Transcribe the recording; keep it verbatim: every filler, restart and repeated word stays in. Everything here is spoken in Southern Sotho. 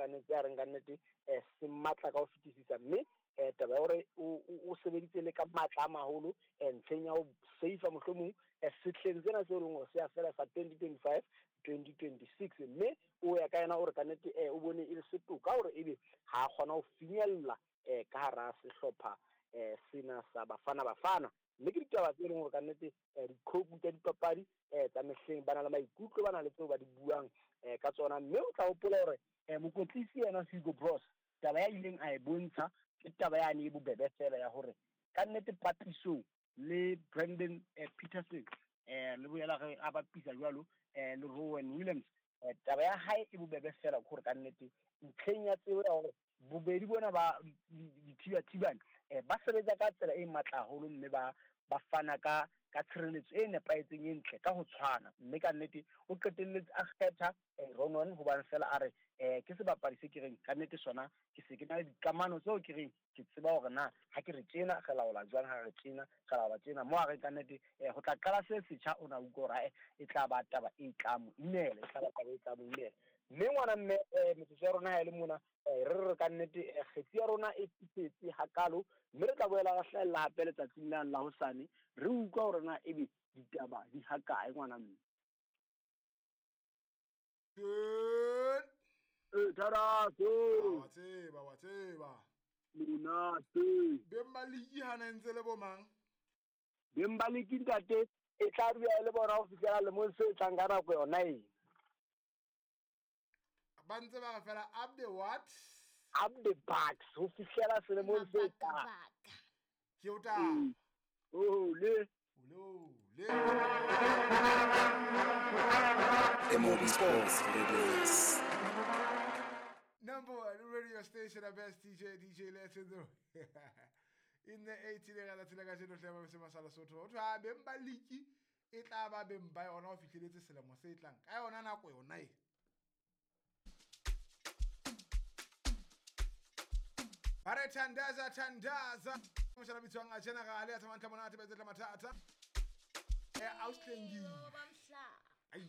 lekanetse a reng ka nnete um se matla ka ho fetisisa mme um taba ya hore o sebeditse le ka matla a maholo um ntlheng ya ho save mohlomong um sehleng sena se e leng hore se a fela sa twenty twenty five twenty twenty six mme o ya ka yena o re ka nnete um o bone e le setoka hore ebe ha a kgona ho finyella um ka hara sehlopha um sena sa Bafana Bafana mme ke ditaba tse leng hore ka nnete dikhoku tsa dipapadi um tsa mehleng ba na le maikutlo ba na le tseo ba di buang um ka tsona mme o tla hopola hore um mokwetlisi yena Hugo Broos taba ya ileng a e bontsha ke taba yane e bobebe fela ya hore ka nnete papisong le Brandon Petersen um le boela re a bapisa jwalo um le Rowan Williams um taba ya hae e bobebe fela ke hore ka nnete ntlheng ya tsebo ya hore bobedi bona ba dithibathibane um ba sebetsa ka tsela e matla haholo mme ba ba fana ka ka tshireletso e nepahetseng e ntle ka ho tshwana mme ka nnete o qetelletse a kgetha Ronan hobane fela a re um ke sebapadi se ke reng ka nnete sona ke se ke na le dikamano tseo ke reng ke tseba hore na ha ke re tjena re laola jwang ha re tjena re laola tjena mo a reng ka nnete um ho tla qala se setjha o na utlwa hore e tla ba taba e tla mo imela e tla ba taba e tla mo imela mme ngwana mme um metsotso ya rona ha e le mona um re re ka nnete kgetsi ya rona e fifetse hakalo mme re tla boela re hlahella hape letsatsing lane la hosane re utlwa hore na ebe ditaba di hakae ngwana mme. Eh tharaso wa tseba wa tseba monate beng ba liki hana ntse le bo mang beng ba liki ntate e tla dula le bona ho fihlela lemong se tlang ka nako yona e ba ntse ba re fela up the what up the bucks ho fihlela selemong se tlang ke o ta oh le ole le M O B Sports Radio. Number one radio station, the best D J, D J Let's in the in the eighteen la tsela ka jeno hle ba se masala sotho. Ho thwa beng ba liki e tla ba beng ba yona ho fihleletse selemo se tlang. Ka yona nako yona e. Ba re thandaza thandaza. Moshala bitswang a general ya tsamantla monate ba etsa mathata. Eh auslengi. Ai.